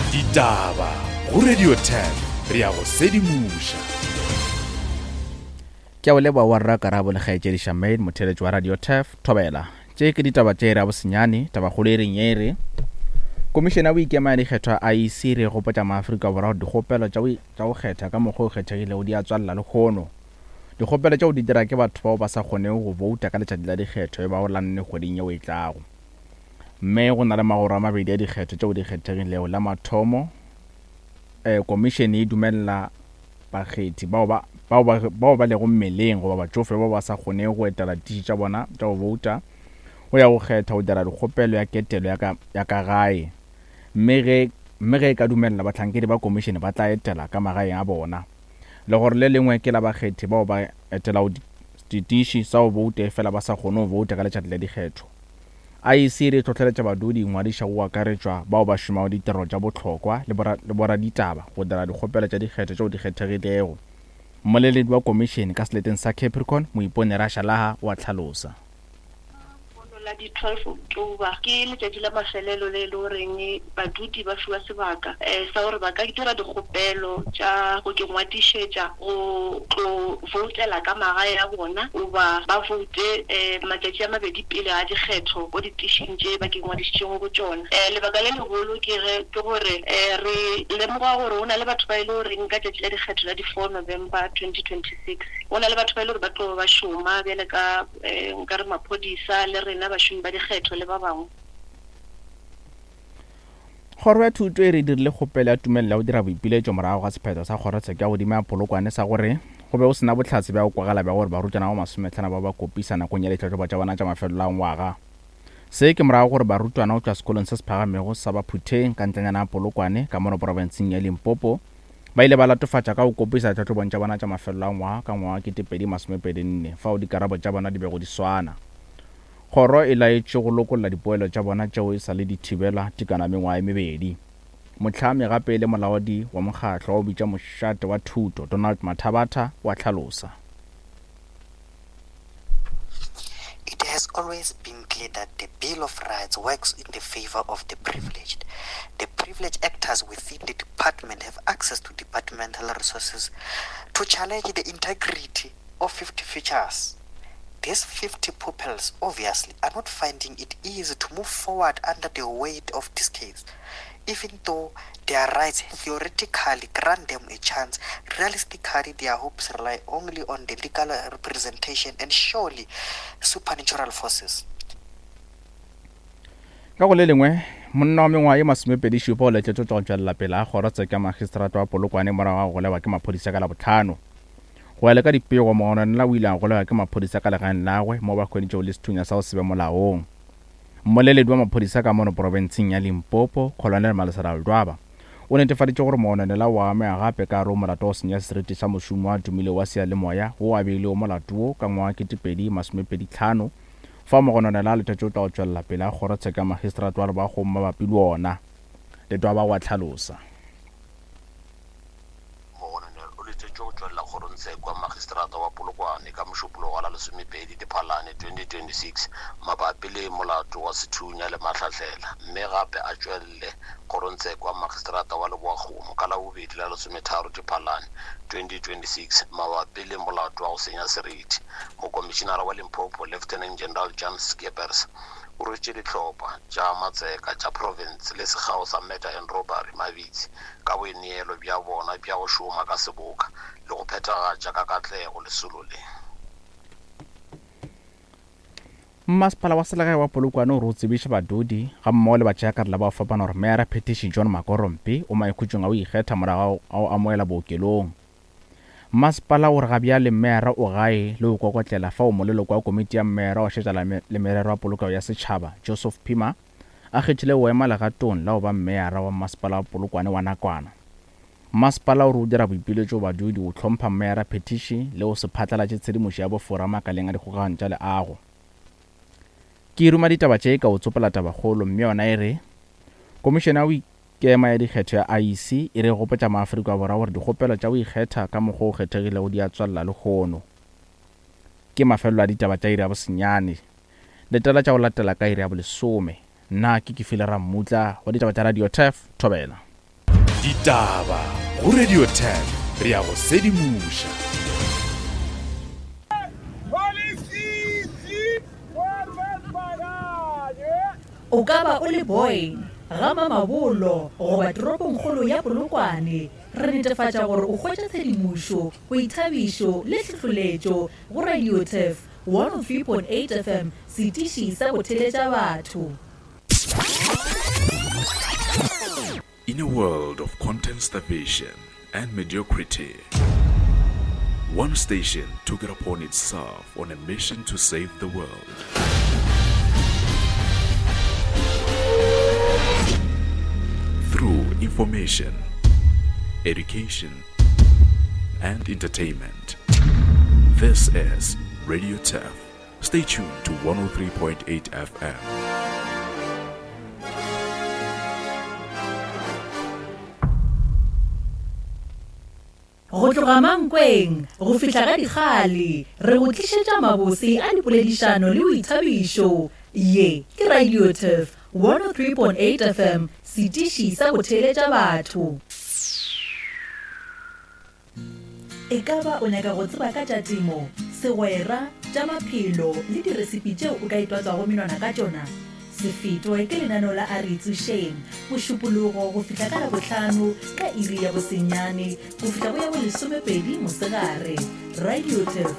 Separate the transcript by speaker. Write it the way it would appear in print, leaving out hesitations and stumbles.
Speaker 1: Ditaba go Radio 10 re ya go sedimoša.
Speaker 2: Ke a o leboga wa rra Karabo le kgaetšedi Charmaine motheeletši wa Radio Turf Thobela. Tše ke ditaba tše iri ya bosenyane, tabakgolo e reng ye e re Komišene ya Boikema ya Dikgetho ya IEC e re gopotša maAfrika Borwa gore dikgopelo tša go kgetha ka mokgwa o kgethegilego di a tswalela lehono. Dikgopelo tšeo di dira ke batho bao ba sa kgonego go bouta ka letšatši la dikgetho e bago la nne kgweding yeo e tlago. Mme go na le magoro a mabedi a dikgetho tšeo di kgethegilego. La mathomo, eh, komišene e dumelela bakgethi bao ba, bao ba, bao ba lego mmeleng goba batšofe bao ba sa kgonego go etela ditiši tša bona tša go bouta go ya go kgetha go dira dikgopelo ya ketelo ya ka, ya ka gae. Mme ge, mme ge e ka dumelela, bahlankedi ba komišene ba tla etela ka magaeng a bona. Legoro le lengwe ke la bakgethi bao ba etelago ditiši sa go bouta efela ba sa kgone go bouta ka letšatši la dikgetho. IEC e re e hlohleletša badudi ingwadiša go akaretšwa bao ba šomago ditirelo tša bohlokwa le boraditaba go dira dikgopelo tša dikgetho tšeo di kgethegilego. Mmoleledi wa komišene ka seleteng sa Capricorn, Moipone Rashalaha o a hlalosa.
Speaker 3: Lehono la di 12 October ke letšatši la mafelelo le e le goreng badudi ba fiwa sebaka sa gore ba ka dira dikgopelo tša go kengwadišetša go tlo voutela ka magae a bona goba ba voute matšatši a mabedi pele ga dikgetho ko ditišing tše ba kengwadišitšego go tšona. Lebaka le legolo ke ge ke gore re lemoga gore go na le batho ba e le goreng ka tšatši la dikgetho la di 4 November 2026 go na le batho ba e le gore ba tlo ba šoma bjale ka nka re maphodisa le rena bašomi ba dikgetho le ba bangwe.
Speaker 2: Kgoro ya Thuto e re dirile kgopelo ya tumelelo ya go dira boipiletšo morago ga sephetho sa kgorotsheko ya godimo ya Polokwane sa gore go be go se na bohlatse bja go kwagala bja gore barutwana ba masometlhano ba ba kopisa nakong ya ditlhahlobo tša bona tša mafelelo a ngwaga. Se ke morago gore barutwana go tšwa sekolong se se phagamego sa Baphutheng ka ntlanyana ya Polokwane ka mono profenseng ya Limpopo ba ile ba latofatša ka go kopisa ditlhahlobong tša bona tša mafelelo a ngwaga ka ngwaga wa 2024 fao dikarabo tša bona di bego di swana. Kgoro e laetšwe go lokolla dipoelo tša bona tšeo e sa le di thibelwa tekano ya mengwaga e mebedi. Mohlami gape e le molaodi wa mokgatlo wa go bitša Mošate wa Thuto, Donald Mathabatha, o a hlalosa.
Speaker 4: It has always been clear that the Bill of Rights works in the favor of the privileged. The privileged actors within the department have access to departmental resources to challenge the integrity of 50 features. These 50 pupils obviously are not finding it easy to move forward under the weight of this case. Even though their rights theoretically grant them a chance, realistically their hopes rely only on the legal representation and surely supernatural forces.
Speaker 2: Ka go le lengwe, monna wa mengwaga ye masomepedi-šupa o letletšwe go tšwa go tšwelela pele ga kgorotsheko ya magistrata wa Polokwane morago ga go golegwa ke maphodisa ka Labohlano. Go ya le ka dipego, mogononela o ile a golegwa ke maphodisa ka legaeng lagwe moo ba hweditšego le sethunya sa go se be molaong. Mmoleledi wa maphodisa ka mono profenseng ya Limpopo, Colonel Malesela Ledwaba, o netefaditše gore mogononela o amega gape ka gare go molato wa go senya seriti sa mošomi wa tumilego wa seyalemoya wo a beilego molato wo ka ngwaga 2025 fao mogononela a letetše o tla go tšwelela pele ga kgorotsheko ya magistrata wa Lebakgong mabapi le wona. Ledwaba o a hlalosa.
Speaker 5: Mogononel o letetšwe go tšwelela kgorongtsheko ya magistrata wa Polokwane ka Mošupologo wa la lesomepedi Diphalane 2026 mabapi le molato wa sethunya le mahlahlela mme gape a tšwelele kgorongtsheko ya magistrata wa Leboakgomo ka Labobedi la lesometharo Diphalane 2026 mabapi le molato wa go senya seriti. Mokomišinara wa Limpopo Lieutenant General Jan Scheepers o rwetše dihlopha tša matseka tša profense le sekgao sa Murder and Robbery mabitsi ka boineelo bja bona bja go šoma ka seboka le go phethagatša ka katlego lesolo le.
Speaker 2: Mmasepala wa selegae wa Polokwane o re o tsebiša badudi gammogo le batšeakarolo ba go fapana gore Meyara Phethiši John Makorompe o maikhutšong a go ikgetha morago ga go amogelwa bookelong. Mmasepala o re gabjale meyara o gae le go kokotlela fao moleloko wa komiti ya meyara wa šetša le merero ya polokego ya setšhaba Joseph Phima a kgethile go ema legatong la go ba meyara wa mmasepala wa Polokwane wa nakwana. Mmasepala o re o dira boipiletšo go badudi go hlompha meyara phethiši le go se phatlalatše tshedimošo ya bofora makaleng a dikgokagano tša leago. Ke ruma ditaba tše ka go tsopola tabakgolo mme yona e re Komišene ya go Ikema ya Dikgetho ya IEC e re gopotša maAfrika Borwa gore dikgopelo tša go ikgetha ka mokgwa o kgethegilego di a tswelela lehono. Ke mafelelo a ditaba tša iri ya bosenyane. Letela tša go latela ka iri ya bolesome. Nna ke Kefile Rammutla wa ditaba tša Radio Turf, Thobela.
Speaker 1: Ditaba go Radio 10 re a go sedimoša.
Speaker 6: O ka ba o le Boyne, ga Mamabolo goba toropongkgolo ya Polokwane, re netefatša gore o hwetša tshedimošo, boithabišo le hlohloletšo go Radio Turf 103.8 FM, setiši sa go theletša batho.
Speaker 1: In a world of content starvation and mediocrity, one station took it upon itself on a mission to save the world. Through information, education, and entertainment. This is Radio Turf. Stay tuned to 103.8 FM.
Speaker 6: Go tloga Mankweng go fihla ga Dikgale, re go tlišetša mabose a dipoledišano le boithabišo. Ye ke Radio Turf 103.8 FM, setiši sa go theeletša batho. E ka ba o nyaka go tseba ka tša temo, segwera, tša maphelo le diresipi tšeo o ka itwatswago menwana ka tšona? Se fetwe ke lenaneo la A Re Itsošeng, Mošupologo go fihla ka Labohlano ka iri ya bosenyane go fihla go ya bolesomepedi mosegare. Radio Turf.